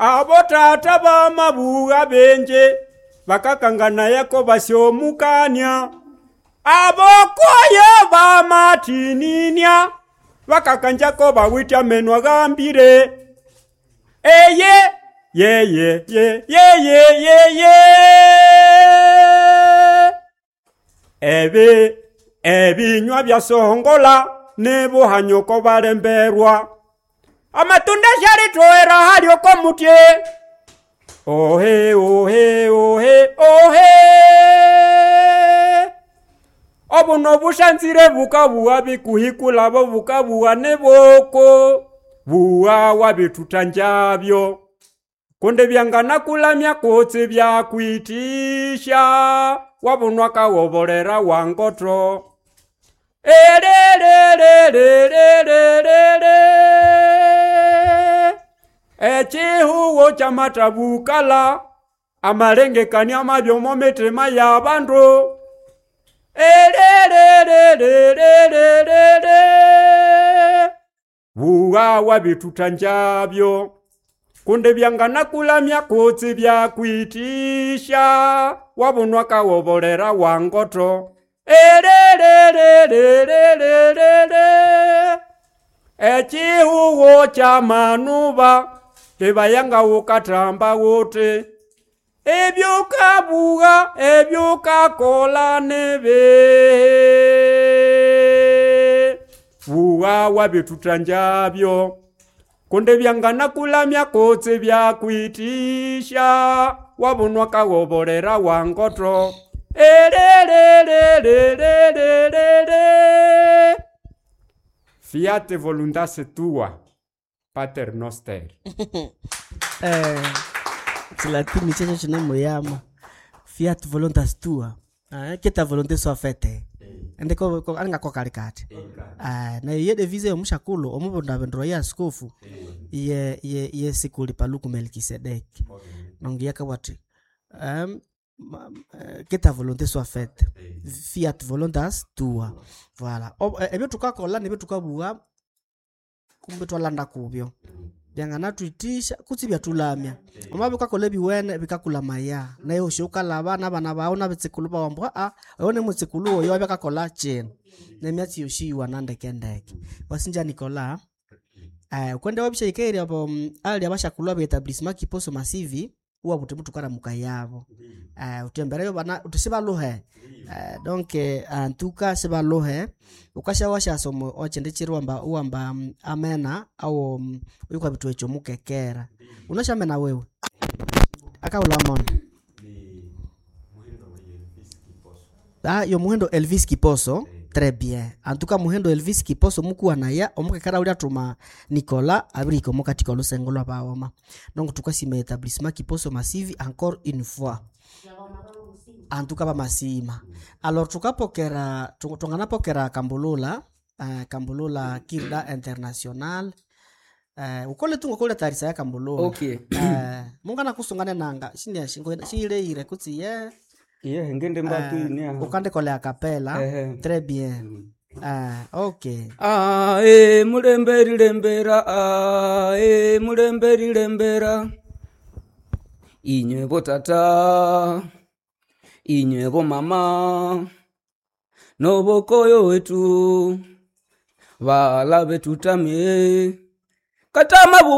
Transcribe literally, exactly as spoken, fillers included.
Abo tata bamabuga bingi bakakanganayako basyomukania. Abokoyo bamatinĩnĩa bakakanjako bawite ameno agambire. Eye ye ye ye ye ye ye ye. Ebi ebinywa byasongola nebuhanyoko balemberwa. Amatunda syalitoera hali oko mutye. Ohe ohe ohe ohe. Obuno bushanzire bukabuwa bikuhikulabo bukabuwa neboko. Buwa wabitutanjabyo. Kunde byanganakulamya kutsi byakwitisha. Wabunwa kawobolera wangoto. Ererererererere. Echihuwo kyamatabukala amalengekania mabyo mitima y'abandu. Ererererererere. Buwa wabitutanjabyo. Kunde byanganakulamya kutsi byakwitisha. Wabunwa kawobolera wangoto. Ererererererere. Echihuwo kyamanuba tebayanga wukatamba wote. Ebyokabuga ebyokakola nebe. Buwa wabitutanjabyo. Kunde byanganakulamya kutsi byakwitisha. Wabunwa kawobolera wangoto. Ererererererere. Fiat voluntas tua, Pater noster. Eh, chilatini checho chinemuyama. Fiat voluntas tua. Eh, que ta volonté soit faite. Ende ko ko anga ko kalikati. Ah, na iye devise omushakulo omubunda bendro ya askofu. Iye iye iye sikuli paluku Melkisedeki. Nongi yakawati. Um, que ta volonté soit faite. Fiat voluntas tua. Voilà. Ebyo tukakola nebyo tukabuga kumbe twalanda kubyo. Byanganatwitisha kutsi byatulamya. Omabe ukakola ebiwene bikakulamaya. Naye osho ukalaba n'abana bawe n'abetsikulu bawe mbwa a oyo ne mutsikulu oyo abyakakola chino. Nemyatsi yoshiwa nandekendeke. Wasinja Nicola. Eh ukwenda wabishaikeri abo ali abashakulwa be etablissement Kiposo Masivi uwa kuti mutukara mukayabo. Eh utembereyo bana utisibaluhe. Eh donc antuka sibaluhe ukasha washasomo ochendechirwa mba uwamba amena au uyukwa bitu echo mukekera. Unashamena wewe. Akaula mona. Ah yo muhendo Elvis Kiposo. Très bien. En tout cas muhendo Elvis Kiposo mukuwa naya omukekera ulia tuma Nicola abiriko mukatika olusengo lwa baoma. Donc tukasima établissement Kiposo Masivi encore une fois. En tout cas bamasima. Alors tukapokera tunganapokera Kambulula, uh, Kambulula Kirda International. Uh, ukole tungo kole tarisa ya Kambulula. Okay. Uh, mungana kusungane nanga shindi shingo shile ire kutsi ye. Ye ngende mbatu uh, ni ukande kole a capella. Très bien. Ah, okay. Ah, eh mulemberi lembera, ah, eh mulemberi lembera. Inywe bo tata, inywe bo mama, nobokoyo wetu, bala betutamye, katama buwa.